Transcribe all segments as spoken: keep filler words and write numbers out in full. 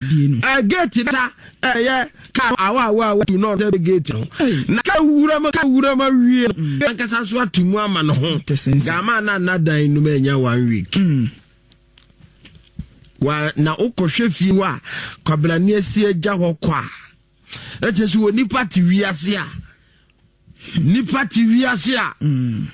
Ɛ gate ta ɛyɛ kaa awa awa awa tu na ɔsɛ gate no na ka wura ma ka wura ma wie no ankasa so ato mu ama no ho gama na na dan no ma nya one week mm. Wa na wokɔhwɛ fie hɔ a, kwabrane asi agya hɔ kɔ a, ɛkyɛ sɛ wɔ nipa te wiase a, nipa te wiase a, mm.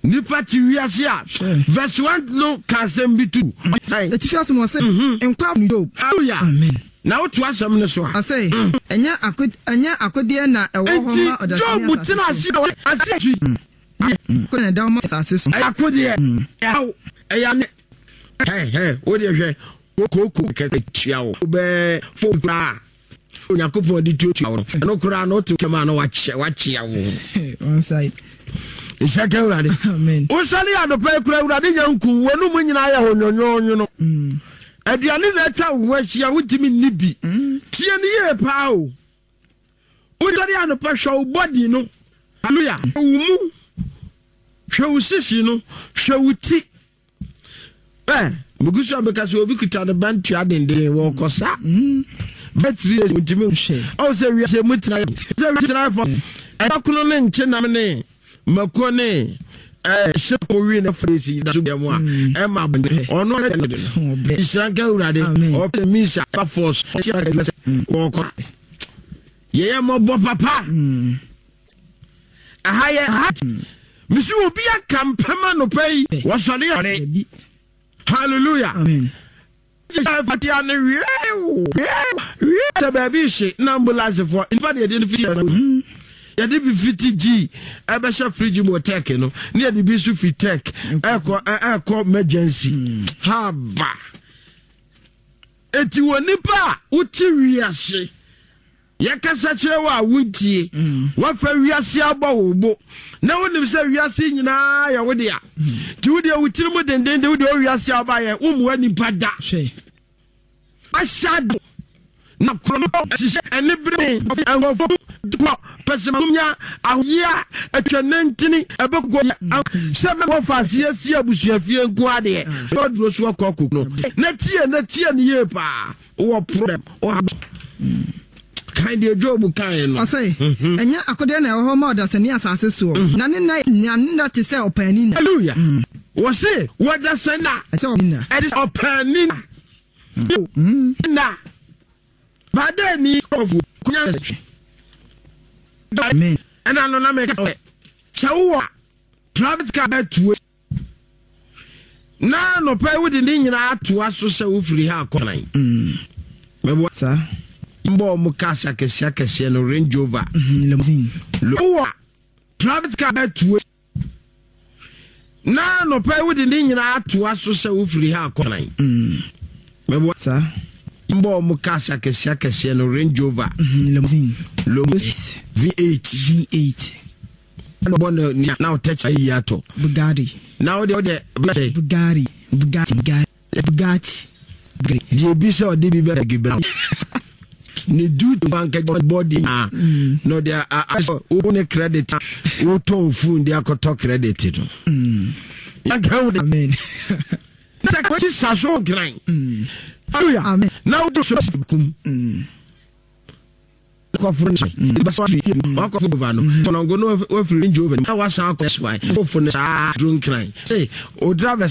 nipa te wiase a. Verse one no ka asɛm bi tu. Atifi asɛm wɔ sɛ mhm. nkwa no Job. Hallelujah. Amen. Na woto asɛm no so a. Ɔsɛ mm. ɛnyɛ ako ɛnyɛ akodeɛ na ɛwɔ hɔ ma ɔdasani asase so. Job tena ase a ase akyi. Akodeɛ na ɛda hɔ ma asase so. Ɛyɛ akodeɛ. Ɛyɛ ɛyɛ ane. Hɛ hɛ wo deɛ hwɛ kooko kɛkɛ tua wo bɛɛ fo koraa Onyankopɔn de tuatua wo no ɛno koraa no wote kɛm a na wakyɛ wakyea wo. One side. Nhyɛ ka Awurade. Amen. Wosɔre anɔpa yi kura Awurade nya nku w'anum nyinaa yɛ hɔ nwonwonwono. Mm. Aduane na atwa wo ho ahyia wontumi nni bi. Mm. Tie no yie paa o. Wosɔre anɔpa hwɛ wo body no. Hallelujah. Hwɛ wo mu. Hwɛ wo sisi no. Hwɛ wo ti. Ɛ megu so a meka sɛ obi kuta ne ba ntua denden wɔkɔ sa. Mm. Bɛtiri esi ntumi nhwɛ. Ɔwɔ sɛ wiase mu tena sɛ wiase tena fɔ. Ɛda kono ne nkyenam ne mako ne ɛɛ hyɛ mo wi ne fere si da so bia mu a mm. ɛma abɔnten ɔno ɛyɛ no de no. Nhyira nka Awurade ɔpɛ misa ba force wɔkɔ. Yɛyɛ mmɔbɔ papa. Mm. Aha yɛ ha. Mesi obi aka mpɛm anɔpa yi wɔsɔre ɔre. Hallelujah. Amen. Fatia no wie wie sɛ baabi hye na ambulance fo nipa na yɛde no fiti mm. yɛde bi fiti gyi ɛbɛhyɛ fridge mu wɔ tech no ne yɛde bi nso fi tech ɛkɔ ɛkɔ emergency mm. haba eti wɔ nipa a wote wiase. Yɛkasa kyerɛ wo a wontie. Woafa wiase abɔ wo bo na wonim sɛ wiase nyinaa yɛ wo dea. Nti wo deɛ wo tiri mu dendenden wo deɛ wo wiase a wobaeɛ wommoa nipa da. Ahyɛ ade na korɔ no hyehyɛ ɛne bere nkurɔfoɔ kɔ pɛsɛmenkominya ahoyia atwa nantini ɛbɛkɔ sɛ mɛkɔ faase asi abusuafie nko adeɛ ɔduro so akɔ akɔ no na tie na tie no yie paa. Wowɔ problem, ɔha kan deɛ Job kaeɛ no. Ɔse, mhm. Ɛnyɛ akodeɛ na ɛwɔ hɔ ma ɔdasani asase soɔ, mhm. na ne nna na ne nna te sɛ ɔpaani nna. Hallelujah. Mm. Wɔse wɔdasani na ɛsɛ ɔpaani nna. Ɛte sɛ ɔpaani nna. Mm. Nna. Badaani kɔfo kunya Amen. Ɛna no na mɛka sɛ wowɔ private car bɛtuo Na anɔpa yi wode ne nyinaa atoa so sɛ wofiri ha akɔ nan. Mm. Mɛboa. Saa. Mbɔ ɔmo cars akɛseɛ akɛseɛ no Range Rover. Mm, limousine. Wowɔ private car bɛtuo. Na anɔpa yi wode ne nyinaa atoa so sɛ wofiri ha akɔ nan. Mm. Mɛboa. Saa. Mbɔ ɔmo cars akɛseɛ akɛseɛ no Range Rover. Mm, limousine. Limousine. V eight. V eight. Bɔ no na wotɛkyɛ ayi atɔ. Bugatti. Na wode wode bɛhyɛ. Bugatti. Bugatti. Bugatti. Bugatti. Deɛ bi sɛ ɔde bi bɛ gibra ne duty banka bɔdi na na ɔde asɔ wo ne credit wotɔn phone de akɔtɔ credit no. Yanka wo de. Amen. Sɛ kɔsi sa so nkran. Hallelujah. Amen. Na wo so kum. Kɔforo no basa fi wakɔfo over no tɔnɔngo no wafiri Range Rover na wasan akɔ S Y kɔfo no saa duro nkran sɛ o drivers.